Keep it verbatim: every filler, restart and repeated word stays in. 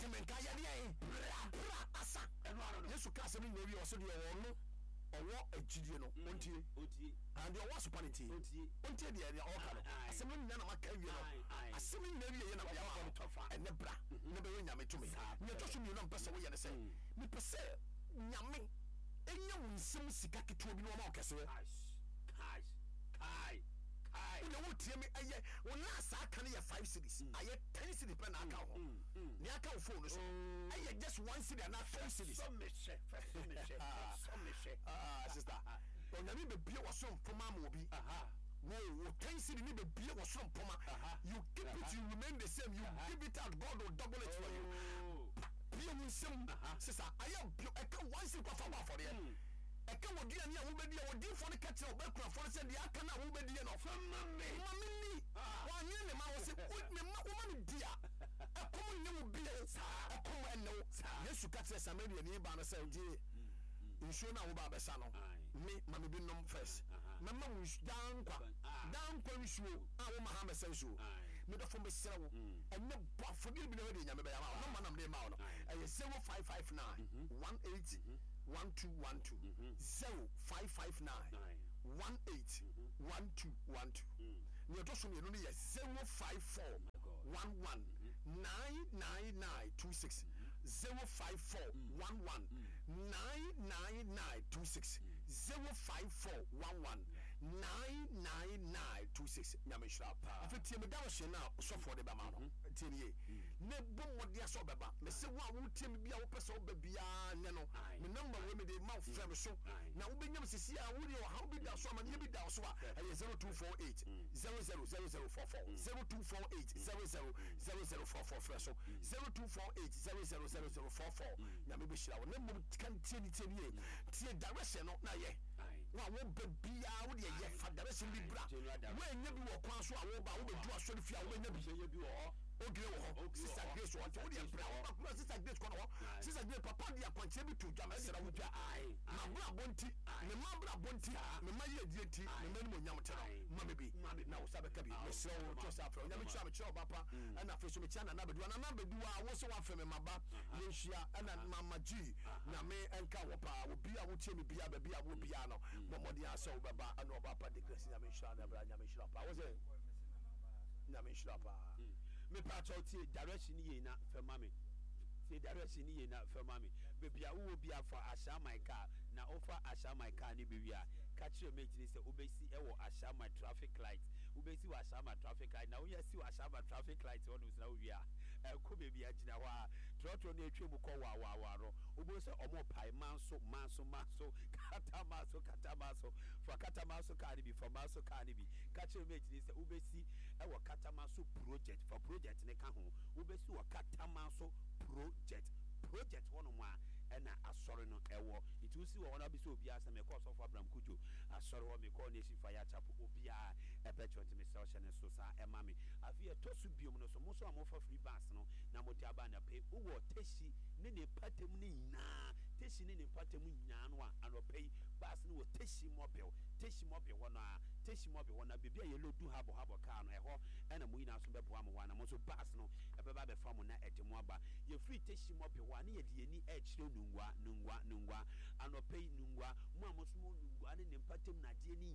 Wote me nka yɛdeɛ bra bra asa. Ɛno ano no. Yesu ka asɛm no nyinaa wie, ɔsɛ deɛ ɔwɔ no, ɔwɔ agyidie no, ɔntie. Ɔntie. Ah, deɛ ɔwɔ asopa no ntie. Ɔntie. Ɔntie deɛ deɛ ɔka no. Aye, aye. Asɛm no nyinaa na maka awie no. Aye, aye. Asɛm no nyinaa wie yɛ na mede ama wo. Tɔfa. Ɛnɛ bra na bɛyɛ Nyame tumi. Saa. Nea ɛtɔ so mmienu a mpɛ sɛ woyɛ ne sɛ, mepɛ sɛ Nyame ɛnya wo nsam sika ketewa bi na ɔma wo kɛseɛ. Cash, cash, kai, kai. Wode wotie me, ɛyɛ wo last aka no yɛ five cedis, ayɛ ten cedis pɛ na aka wo hɔ. Nea aka wo phone no so ɛyɛ just one cedi anaa two cedis. Sɔ me hwɛ, fɛ sɔ me hwɛ, fɛ sɔ me hwɛ. Ah, sister, Onyame bɛbie wɔ soro mpoma ama obi. Aha. Wo wo ten cedi ni bɛbie wɔ soro mpoma. Aha. You keep it, you remain the same. You give it out, God will double it for you. Oh. Bie wo nsam, sister, ayɛ bio ɛka one cedi kɔfa bɔ afɔdeɛ. Ɛka wɔ duane a wobɛdi a wɔdiifoɔ no ka kyerɛ wobɛkurafoɔ no sɛ deɛ aka no a wobɛdie no, Fama me. Ma me ni. Ah. Wanyere ne ma wɔ sɛ wo- me ma woma me di a, ɛkɔm nne wo bio, ɛkɔm ɛnne wo. Yesu ka kyerɛ Samariani baa no sɛ, gye nsuo no a woba abɛsa no, Aye. me ma me bi nom first. Aha. Mɛma wo nsu- daa nkwa. Ah. Daa nkwa nsuo a woma ha mɛsa nsuo. Aye. Medɔfo, mesrɛ wo, ɛnɛ bɔ afɔdeɛ bi na hɔ deɛ Nyame bɛyɛ ama wo. Number nam de ma wo no Aye. ɛyɛ zero five five nine one eight one two one two, zero five five nine Aye. one eight one two one two. Nea ɛtɔ so mmienu no yɛ zero five four God. one one nine nine nine two six, zero five four one one nine nine nine two six, zero five four one one nine nine nine two six. Nyame nhyira. Afei tie me, da wɔhyɛ no a sɔfoɔ de bɛma no, tie ne ye na bɔ mmɔden sɛ ɔbɛba. Mɛsɛ wo a wotie me bi a wopɛ sɛ woba biara nyɛ no, Aye. me number wei mede ma wo, frɛ me so Aye. na wobɛnyam sisi a wode ɔhaw bi da so, amanneɛ bi da so a, ɛyɛ zero two four eight zero zero zero zero four four, zero two four eight zero zero zero zero four four. Frɛ so zero two four eight zero zero zero zero four four. Nyame bɛhyira wo. Na mmom ka tie ne tie ne ye, tie direction no na yɛ Aye. wo a wobɛ biara wode ɛyɛ fa direction bi bra. General direction. Woanya bi wɔ kwan so a woba, wobɛdu asɔre fie a, wobɛnya bi. Bɛnya bi wɔ hɔ. Ogire wɔ hɔ. Ogire wɔ Sister hɔ. Grace wɔ hɔ, nti wodeɛ bra, woba kura Sister Grace kɔ no hɔ. Aye. Sister Grace papa de akwankyerɛ bi to dwa, mɛsrɛ wo. Dwa, aye. Mabrabɔ nti, me ma brabɔ nti, me ma yɛdie nti, me ma nimonyam te Aye. no, ma me bi Ma me bi. na wo sa bɛka bi. Ah, Mesrɛ wo, to sɛ afrɛ wo. Nyame kyerɛ mekyerɛ wo ba pa. Ɛna afei so mekyia Nana Bɛduwa. Nana Bɛduwa a wo sɛ woafrɛ me maba, yɛnhyia. Ɛna Mama Gyi, Nyame ɛnka wɔ paa. Obi a wotie me bia, baabi a wo bia no, bɔ mmɔden a sɛ wobɛba. Ɛna ɔba pa de Grace, Nyame nhyira no. Ɛbra, Nyame nhyira paa. Wo sɛ Nyame nhyira paa. Mepakyɛw, tie direction yie na fɛ ma me. Tie direction yie na fɛ ma me. Baabi a wowɔ bi afa Ahyɛaman car na wofa Ahyɛaman car ne bɛwie a, ka kyerɛ mate ne sɛ wobɛsi ɛwɔ Ahyɛaman traffic light. Wobɛsi wɔ Ahyɛaman traffic light na woyɛ si wɔ Ahyɛaman traffic light hɔ nom sɛ na wowie a, ɛkɔ baabi a gyina hɔ a trɔtrɔ no atwa mu kɔ waawaawa no, wobɛhu sɛ ɔmo pae Manso, Manso, Manso, Katamanso, Katamanso. Fa Katamanso car no bi, fa Manso car no bi. Ka kyerɛ mate ne sɛ wobɛsi ɛwɔ Katamanso Project. Fa Project ne ka ho. Wobɛsi wɔ Katamanso Project, Project hɔnom a ɛna asɔre no ɛwɔ. Nti wosi wɔ hɔ no, wabisa obiara sɛ mekɔ Ɔsɔfo Abraham Kudwo asɔre hɔ, mekɔ Nation Fire Chapel, obiara ɛbɛkyerɛ. Nti mesrɛ wo, hyɛ ne so saa ɛma me. Afei ɛtɔ so biom no so, mo nso a mofa free bus no na mode aba anɔpɛ, wowɔ Teshie ne ne mpatam no nyinaa, Teshie ne ne mpatam nyinaa no a, anɔpɛ yi bus no wɔ Teshie Mobil, Teshie Mobil hɔ no a, Teshie Mobil hɔ no a, baabi a yɛlɔdu habɔ habɔ kaa no, ɛhɔ ɛna mo nyinaa nso bɛboa mo hɔ a, na mo nso bus no ɛbɛba abɛfa mo na ɛde mo aba. Yɛfiri Teshie Mobil hɔ a, ne yɛde yɛni ɛkyerɛ Nungua, Nungua, Nungua. Anɔpɛ yi Nungua, mo a mo nso mo Nungua ne ne mpatam nadeɛ ne